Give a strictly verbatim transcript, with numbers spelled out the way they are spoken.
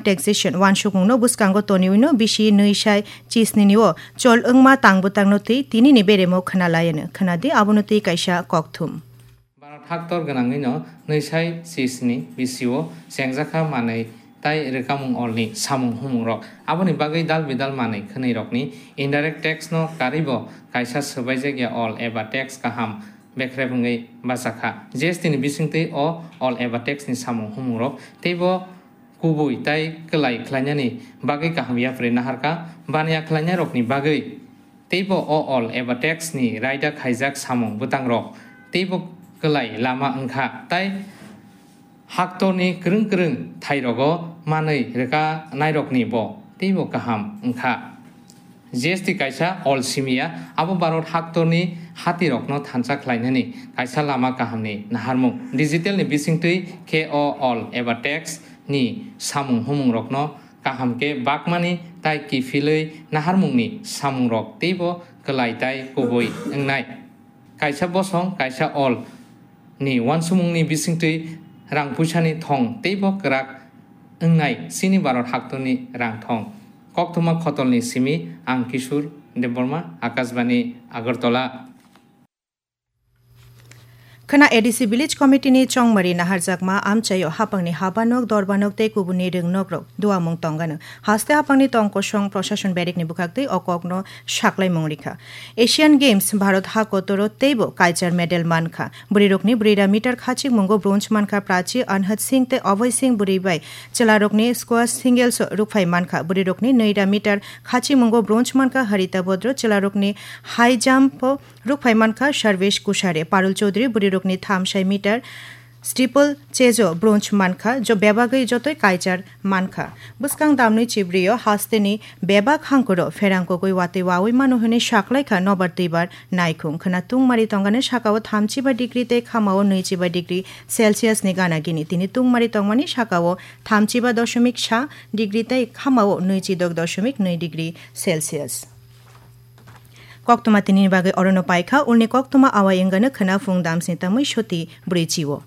taxation wansukmungno bwskango toniwino bisi nwi sai chisni ni o chol wngma tang bwtangno twi tinini beremo khna layano. Khna di abono twi kaisa kokthum. Bharat haktor gwnangwino nwi sai chisni bisio chengjakha manwi tai rwkamung olni samung humungrok. Aboni bagwi dal bidal manwi khwnwirokni indirect tax no karwibo kaisa swbaijakya ol eba tax kaham bekrep wngwi bachakha. G S T ni bisingtwi o ol eba tax ni samung humungrok teibo kubui tai kwlai khlainani bagwi kaham yapri naharkha. Baniya khlainairokni bagwi teibo o ol eba tax ni raida khaijak samung bwtangrok teibo kwlai lama wngkha, tai haktorni kwrwng kwrwng thairogo manwi rwkanairokni bo teibo kaham wngkha. G S T kaisa ol simiya, abo Bharat haktorni hatirokno thansa khlainani kaisa lama kahamni naharmung. Digital ni bisingtwi khe o ol eba tax ni samung humungrokno kaham khe bakmani tai kiphilwi naharmungni samungrok teibo kwlai tai kubui wngnai. Kaisa bosong, kaisa ol ni wansukmungni bisingtwi rang puisani thong teibo kwrak wngnai chini Bharat haktorni rang thong. Koktwma khotolni simi ang Kishore Debbarma, Akashbani, Agartala. Khwna A D C Village Committee ni chongmari naharjakma amchaio hapangni habanok, dorbanok tei kubuni rwngnokrok duamung tongano. Haste hapangni tongkosong proshashon berikni bwkhaktwi o kokno saklaimung rikha. Asian Games Bharat ha kotoro teibo kaichar medal mankha. Bwrwirokni brwi ra meter khachikmungo bronze mankha Prachi Anhat Singh tei Abhay Singh, bwrwi bai chwlarokni squash singles rukphai mankha. Bwrwirokni nwi ra meter khachikmungo bronze mankha Harita Bodro, chwlarokni high jump o rukphai mankha Sarvesh Kushare, Parul Chaudhary bwrwirokni thamsai meter steeple chase o bronze mankha, jo bebagwi jotoi kaichar mankha. Bwskang damnwi chibrio hasteni bebak hangkoro pherang kogwi watwi wawi mano hwnwi saklaikha nobar twibar naikhung. Khwna tungmari tongani sakao thamchiba degree tei khamao nwichiba degree Celsius ni gana gini. Tini tungmari tongmani sakao thamchiba doshomik sa degree tei khamao nwichidok doshomik nwi degree Celsius. Koktwma tinini bagwi orono paikha, ulni koktwma awai wngano khwna phung damsni tamwi soti brwi chio.